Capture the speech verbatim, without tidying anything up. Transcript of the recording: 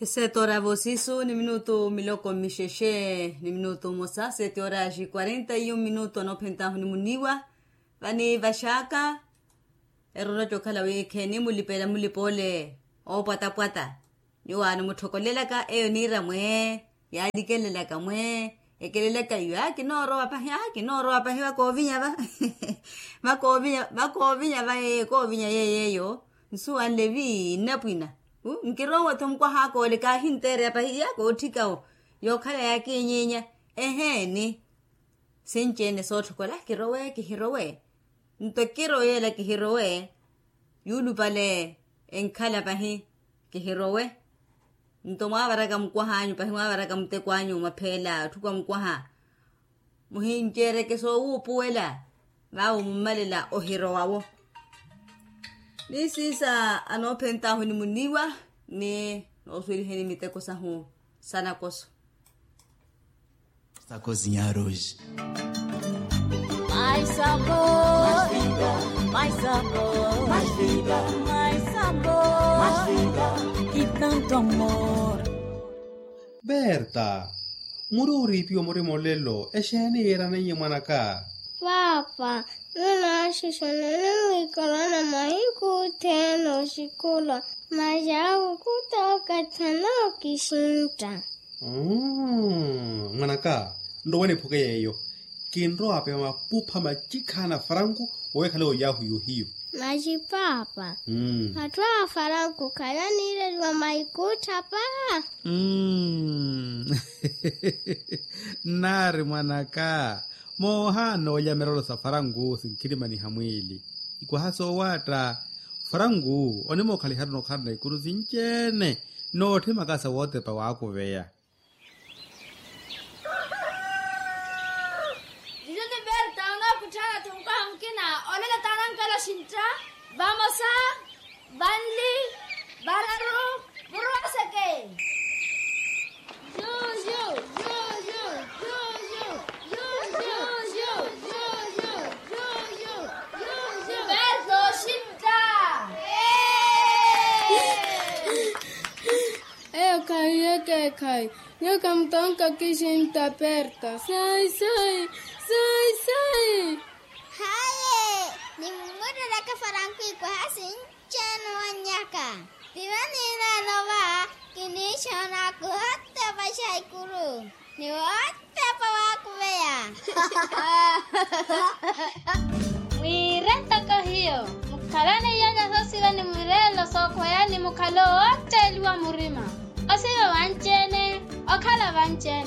Eseeti ora ya voosisu ni minutu miloko mmixexe ni minutu mmosa seeti ora ya xikwarenta iyo minutu anoophentahu ni muniiwa. Vani vaxaaka erorwa cookhala wiikheeni mulipela mulipa ole oopwatapwata. Nyuwo aani mutthokolelaka eyo niira mwe yaalikelelaka mwe ekelelaka iwe aa kinoorowa pahi aa kinoorowa pahi vakoovinya va vakoovinya vakoovinya va yeeyo koovinya yeeyo eyo. Nsuwanle vi nnapwina nkirowe-tho mukwaha akoole kaahinteereya pahi iya kootthikawo yookhala yaakiinyiinya. Eheeni sinci-ene sootthokola kirowe kihirowe. Nto kirowe yeela kihirowe yuulupale enkhala pahi kihirowe. Nto mwaavaraka mukwaha anyu pahi mwaavaraka muteko anyu mapheela otthuka mukwaha muhinceereke soowuupuwela vaawo mummalela ohirowawo. Ni siisa anoophentahu ni muniiwa ni noosuweliheni miteko sahu sanakoso. Sakozinyaroji. Mais sabor, mais sabor, mais sabor, mais sabor, mais sabor, que tanto amor. Berta, muri oriipiwa murima olelo exeeni yiiraneiye mwanaka? Paapa, nunaaxixana nimwiikarana mahiku othene oxikulwa. Masi awo khutookatha nookixintta. Mwanaka, nrowe niphuke yeeyo. Kinrowa apewa mapupha macikhana faranku owekhale oyahu yohiyu. Masi paapa, atthu a faranku khalaniireliwa maikuttha paa. Nnaari mwanaka, moohaana olya mirelo sa faranku sinkhirimaniha mwiili. Ikwaha soowaatta faranku onimookhaliharu nookhalana ikuru sinci-ene nootthimaka sa wootepa waakuveya. Tijo ni berta onookutthaana-tho mukwaha mukina. Olelo taanankela oxintta. Vamosa, vanli, vararu, murwaseke. Berta oxintta. Eyo khahi ekekhayi. Nyuwo khamutonka kixintta perta. Sai sai sai sai. Haye, nimumurereke faranku ikwaha sinci-ene owannyaka. Piva niineene ova kiniixoona kuhotepa xaikuru ni wotepa waakuveya. Mwiire ntoko hiyo mukhalane iyanya soosiva ni mireelo sookhweya ni mukhalo ootteeliwa murima. Osiva vanci-ene okhala vanci-ene.